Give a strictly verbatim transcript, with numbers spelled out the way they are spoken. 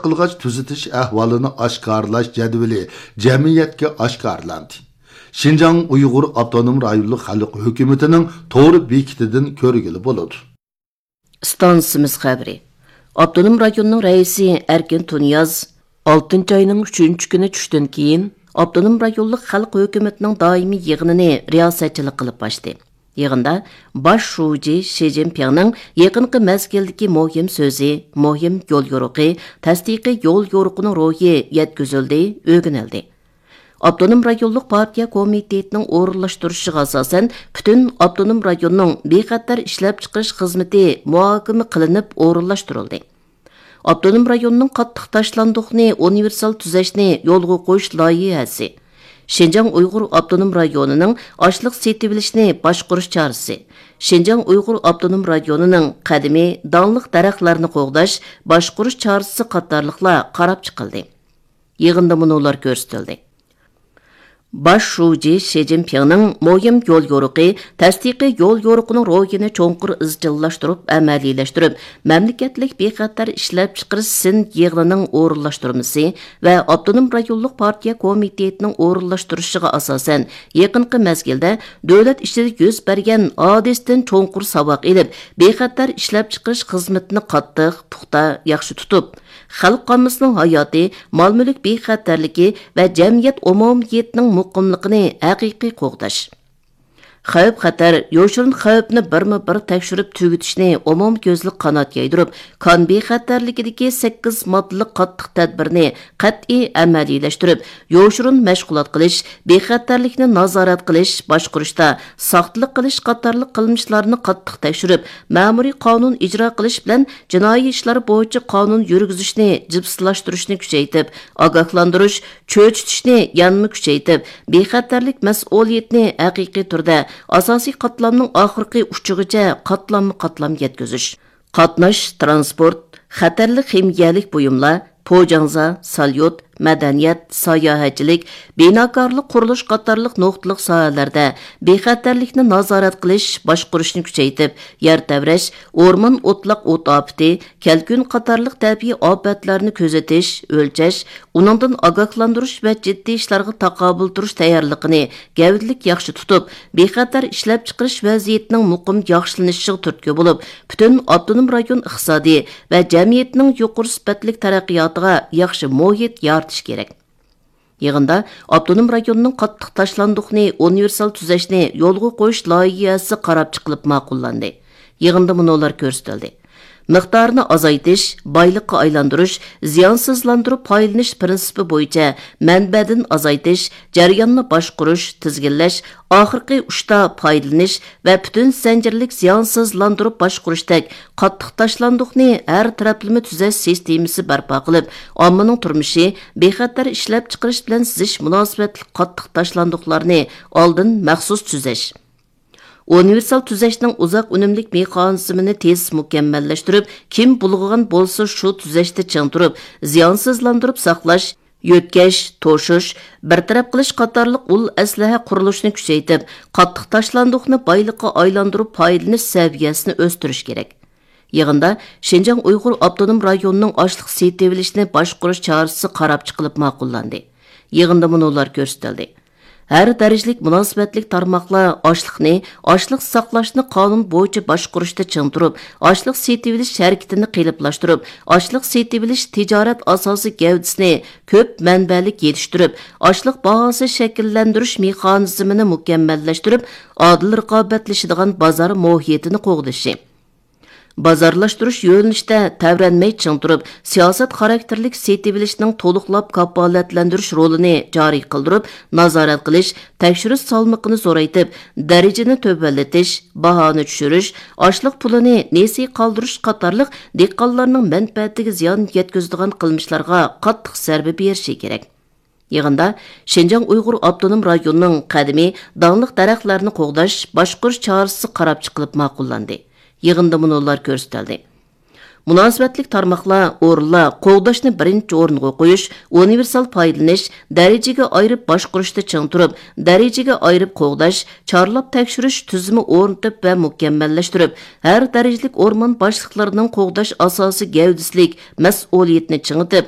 قىلغاچ تۈزىتىش ئەھۋالىنى ئاشكارىلاش جەدۋىلى جەمئىيەتكە ئاشكارىلاندى. شىنجاڭ ئۇيغۇر ئاپتونوم رايونلۇق خەلق ھۆكۈمىتىنىڭ تور بېكىتىدىن كۆرگىلى بولىدۇ. ئىستانسىمىز خەۋىرى. ئاپتونوم رايوننىڭ رەئىسى ئەركىن تۇنىياز ئالتىنچى ئاينىڭ ئۈچىنچى كۈنى چۈشتىن كېيىن ئاپتونوم رايونلۇق خەلق ھۆكۈمىتىنىڭ دائىمىي يىغىنىنى رىياسەتچىلىك قىلىپ ئاچتى. يىغىندا باش شۇجى شى جىنپىڭنىڭ يېقىنقى مەزگىلدىكى مۇھىم سۆزى، مۇھىم يوليورۇقى، تەستىقىي يوليورۇقىنىڭ روھى يەتكۈزۈلدى، ئۆگىنىلدى. ئاپتونوم رايونلۇق پارتىيە كومىتېتىنىڭ ئورۇنلاشتۇرۇشىغا ئاساسەن، پۈتۈن ئاپتونوم رايوننىڭ بىخەتەر ئىشلەپچىقىرىش خىزمىتى مۇھاكىمە قىلىنىپ ئورۇنلاشتۇرۇلدى. ئاپتونوم رايوننىڭ قاتتىق تاشلاندۇقنى ئۇنىۋېرسال تۈزەشنى يولغا قويۇش لايىھەسى، شىنجاڭ ئۇيغۇر ئاپتونوم رايونىنىڭ ئاشلىق سېتىۋېلىشنى باشقۇرۇش چارىسى، شىنجاڭ ئۇيغۇر ئاپتونوم رايونىنىڭ قەدىمىي داڭلىق دەرەخلەرنى قوغداش، باشقۇرۇش چارىسى قاتارلىقلار قاراپ چىقىلدى. يىغىندا مۇنۇلار كۆرسىتىلدى. باش شۇجى شى جىنپىڭنىڭ مۇھىم يوليورۇقى، تەستىقىي يوليورۇقىنىڭ روھىنى چوڭقۇر ئىزچىللاشتۇرۇپ ئەمەلىيلەشتۈرۈپ، مەملىكەتلىك بىخەتەر ئىشلەپچىقىرىش سىن يىغىنىنىڭ ئورۇنلاشتۇرمىسى ۋە ئاپتونوم رايونلۇق پارتىيە كومىتېتىنىڭ ئورۇنلاشتۇرۇشىغا ئاساسەن، يېقىنقى مەزگىلدە دۆلەت ئىچىدە يۈز بەرگەن ھادىسىدىن چوڭقۇر ساۋاق ئېلىپ، بىخەتەر ئىشلەپچىقىرىش خىزمىتىنى قاتتىق، پۇختا، ياخشى تۇتۇپ، خەلق ئاممىسىنىڭ ھاياتى، مال-مۈلۈك بىخەتەرلىكى ۋە جەمئىيەت ئومۇمىيىتىنىڭ مۇقىملىقىنى ھەقىقىي قوغداش. خەۋپ-خەتەر، يوشۇرۇن خەۋپنى بىرمۇ بىر تەكشۈرۈپ تۈگىتىشنى ئومۇميۈزلۈك قانات يايدۇرۇپ، كان بىخەتەرلىكىدىكى سەككىز ماددىلىق قاتتىق تەدبىرنى قەتئىي ئەمەلىيلەشتۈرۈپ، يوشۇرۇن مەشغۇلات قىلىش، بىخەتەرلىكنى نازارەت قىلىش، باشقۇرۇشتا ساختىلىق قىلىش قاتارلىق قىلمىشلارنى قاتتىق تەكشۈرۈپ، مەمۇرىي قانۇن ئىجرا قىلىش بىلەن جىنايى ئىشلار بويىچە قانۇن يۈرگۈزۈشنى جىپسىلاشتۇرۇشنى كۈچەيتىپ، ئاگاھلاندۇرۇش، چۆچۈتۈشنى يەنىمۇ كۈچەيتىپ، بىخەتەرلىك مەسئۇلىيىتىنى ھەقىقىي تۈردە ئاساسىي قاتلامنىڭ ئاخىرقى ئۇچىغىچە قاتلاممۇ قاتلام يەتكۈزۈش. قاتناش، تىرانسپورت، خەتەرلىك خىمىيەلىك بۇيۇملار، پوجاڭزا، ساليۇت، مەدەنىيەت، ساياھەتچىلىك، بىناكارلىق، قۇرۇلۇش قاتارلىق نۇقتىلىق ساھەلەردە بىخەتەرلىكنى نازارەت قىلىش، باشقۇرۇشنى كۈچەيتىپ، يەر تەۋرەش، ئورمان ئوتلاق ئوت ئاپىتى، كەلكۈن قاتارلىق تەبىئىي ئاپەتلەرنى كۆزىتىش، ئۆلچەش، ئۇنىڭدىن ئاگاھلاندۇرۇش ۋە جىددىي ئىشلارغا تاقابىل تۇرۇش تەييارلىقىنى گەۋدىلىك ياخشى تۇتۇپ، بىخەتەر ئىشلەپچىقىرىش ۋەزىيىتىنىڭ مۇقىم ياخشىلىنىشىغا تۈرتكە بولۇپ، پۈتۈن ئاپتونوم رايون ئىقتىسادى ۋە جەمئىيىتىنىڭ يۇقىرى سۈپەتلىك تەرەققىياتىغا ياخشى مۇھىت يارىتىش كېرەك. يىغىندا ئاپتونوم رايوننىڭ قاتتىق تاشلاندۇقنى ئۇنىۋېرسال تۈزەشنى يولغا قويۇش لايىھەسى قاراپ چىقىلىپ ماقۇللاندى. يىغىندا مۇنۇلار كۆرسىتىلدى. مىقدارىنى ئازايتىش، بايلىققا ئايلاندۇرۇش، زىيانسىزلاندۇرۇپ پايدىلىنىش پىرىنسىپى بويىچە مەنبەدىن ئازايتىش، جەرياننى باشقۇرۇش، تىزگىنلەش، ئاخىرقى ئۇچتا پايدىلىنىش ۋە پۈتۈن زەنجىرلىك زىيانسىزلاندۇرۇپ باشقۇرۇشتەك قاتتىق تاشلاندۇقنى ھەر تەرەپلىمە تۈزەش سىستېمىسى بەرپا قىلىپ، ئاممىنىڭ تۇرمۇشى، بىخەتەر ئىشلەپچىقىرىش بىلەن سىزىش مۇناسىۋەتلىك قاتتىق تاشلاندۇقلارنى ئالدىن مەخسۇس تۈزەش. ئۇنىۋېرسال تۈزەشنىڭ ئۇزاق ئۈنۈملۈك مېخانىزمىنى تېز مۇكەممەللەشتۈرۈپ، كىم بۇلغىغان بولسا شۇ تۈزەشتە چىڭ تۇرۇپ، زىيانسىزلاندۇرۇپ ساقلاش، يۆتكەش، توشۇش، بىر تەرەپ قىلىش قاتارلىق ئۇل ئەسلىھە قۇرۇلۇشىنى كۈچەيتىپ، قاتتىق تاشلاندۇقنى بايلىققا ئايلاندۇرۇپ پايدىلىنىش سەۋىيەسىنى ئۆستۈرۈش كېرەك. يىغىندا شىنجاڭ ئۇيغۇر ئاپتونوم رايونىنىڭ ئاشلىق سېتىۋېلىشنى باشقۇرۇش چارىسى قاراپ چىقىلىپ ماقۇللاندى. يىغىندا مۇنۇلار كۆرسىتىلدى. ھەر دەرىجىلىك مۇناسىۋەتلىك تارماقلار ئاشلىقنى، ئاشلىق ساقلاشنى قانۇن بويىچە باشقۇرۇشتا چىڭ تۇرۇپ، ئاشلىق سېتىۋېلىش ھەرىكىتىنى قېلىپلاشتۇرۇپ، ئاشلىق سېتىۋېلىش تىجارەت ئاساسىي گەۋدىسىنى كۆپ مەنبەلىك يېتىشتۈرۈپ، ئاشلىق باھاسى شەكىللەندۈرۈش مېخانىزمىنى مۇكەممەللەشتۈرۈپ، ئادىل رىقابەتلىشىدىغان بازار مۇھىتىنى قوغدىشى. بازارلاشتۇرۇش يۆنىلىشىدە تەۋرەنمەي چىڭ تۇرۇپ، سىياسەت خاراكتېرلىك سېتىۋېلىشنىڭ تولۇقلاپ كاپالەتلەندۈرۈش رولىنى جارى قىلدۇرۇپ، نازارەت قىلىش، تەكشۈرۈش سالمىقىنى زورايتىپ، دەرىجىنى تۆۋەنلىتىش، باھانى چۈشۈرۈش، ئاشلىق پۇلىنى نېسى قالدۇرۇش قاتارلىق دېھقانلارنىڭ مەنپەئەتىگە زىيان يەتكۈزىدىغان قىلمىشلارغا قاتتىق زەربە بېرىشى كېرەك. يىغىندا شىنجاڭ ئۇيغۇر ئاپتونوم رايونىنىڭ قەدىمىي داڭلىق دەرەخلەرنى قوغداش، باشقۇرۇش چارىسى قاراپ چىقىلىپ ماقۇللاندى. يىغىندا مۇنۇلار كۆرسىتىلدى. مۇناسىۋەتلىك تارماقلار، ئورۇنلار قوغداشنى بىرىنچى ئورۇنغا قويۇش، ئۇنىۋېرسال پايدىلىنىش، دەرىجىگە ئايرىپ باشقۇرۇشتا چىڭ تۇرۇپ، دەرىجىگە ئايرىپ قوغداش، چارلاپ تەكشۈرۈش تۈزۈمى ئورنىتىپ ۋە مۇكەممەللەشتۈرۈپ، ھەر دەرىجىلىك ئورمان باشلىقلىرىنىڭ قوغداش ئاساسىي گەۋدىسىلىك مەسئۇلىيىتىنى چىڭىتىپ،